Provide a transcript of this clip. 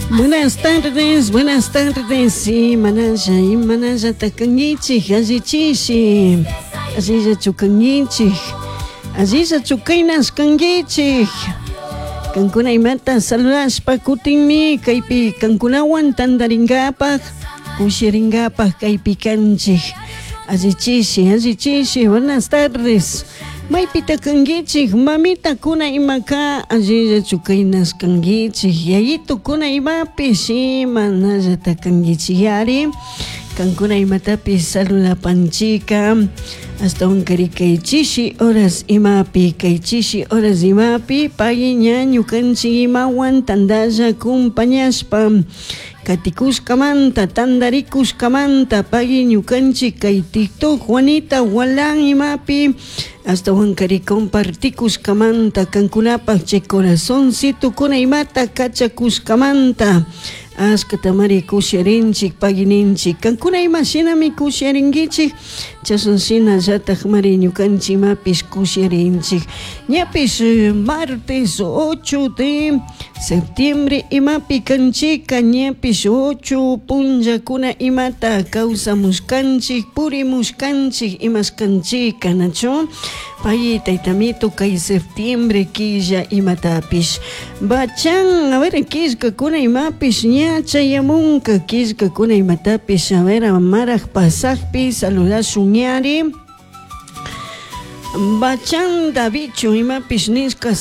Buenas tardes, buenas tardes. Imanalla, imanallata kankichik, allichishi. Allillachu kankichik. Allillachu kaynas kankichik. Kankuna imata saludashpa kutinmi kaypi kankunawan tantarinkapak, kushirinkapak kaypi kanchik. Allichishi, allichishi, buenas tardes. Maypita kankichik, mamitakuna imaka allillachu kaynas kankichik, yayitukuna imapish imanallata kankichik yari. Kankuna imatapish saludapanchika, ashtawankari kay chishi horas imapi, kay chishi horas imapi, pay ña ñukanchik imawan tantalla acompañashpa katikushkamanta, tantarikushkamanta, pay ñukanchik kay TikTok Juanita Gualán imapi, ashtawankari compartikushkamanta, kankunapak chay corazoncitukuna imata kachakushkamanta, ashkatamari kusharinchik, pagininchik, kankuna ima shinami kusharinkichik, chashna shinallatakmari ñukanchik imapish kusharinchik. Ñapish martes 8 de septiembre imapi kanchika, ñapish 8 punllakuna imata kawsamushkanchik, purimushkanchik, imashkanchika, nachu? Pay taytamito kay septiembre killa imatapish. Bachan, a ver, killkakuna imapish ña chayamunka, killkakuna imatapish, a ver, maraj pasajpi saludashun ñari. Bachan Davicho imapish nishka.